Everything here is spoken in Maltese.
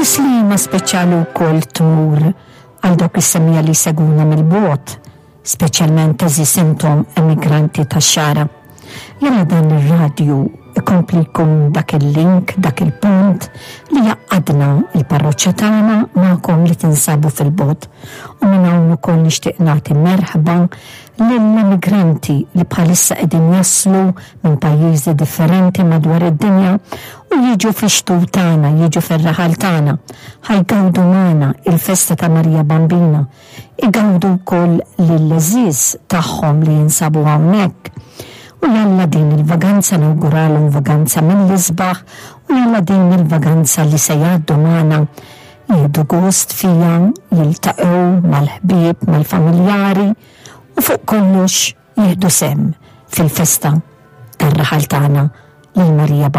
Tislima speċjali wkoll tmur għal dawk is-semmiegħa li jsegwuna mill-bogħod, speċjalment għeżież intom emigranti tax-Xagħra. Jalla dan ir-radju ikompli jkun dak il-link, dak il-pont li jgħaqqadna il-parroċċa tagħna magħkom li tinsabu fil-bogħod. U minn hawn ukoll nixtieq nagħti merħba lill-emigranti li bħalissa qegħdin jaslu minn pajjiżi differenti madwar id-dinja u jiġu fix-xtut tagħna, jiġu fir-raħal tagħna, ħa jgawdu magħna il-festa ta' Marija Bambina, igawdu wkoll lill-għeżież tagħhom li jinsabu hawnhekk. U jalla din il-vaganza nawguralhom vaganza mill-isbaħ u jalla din il-vaganza li se jgħaddu magħna jieħdu gost fiha, jiltaqgħu mal-ħbieb, mal-familjari u fuq kollox jieħdu sehem fil-festa tar-raħal tagħna lil Marija.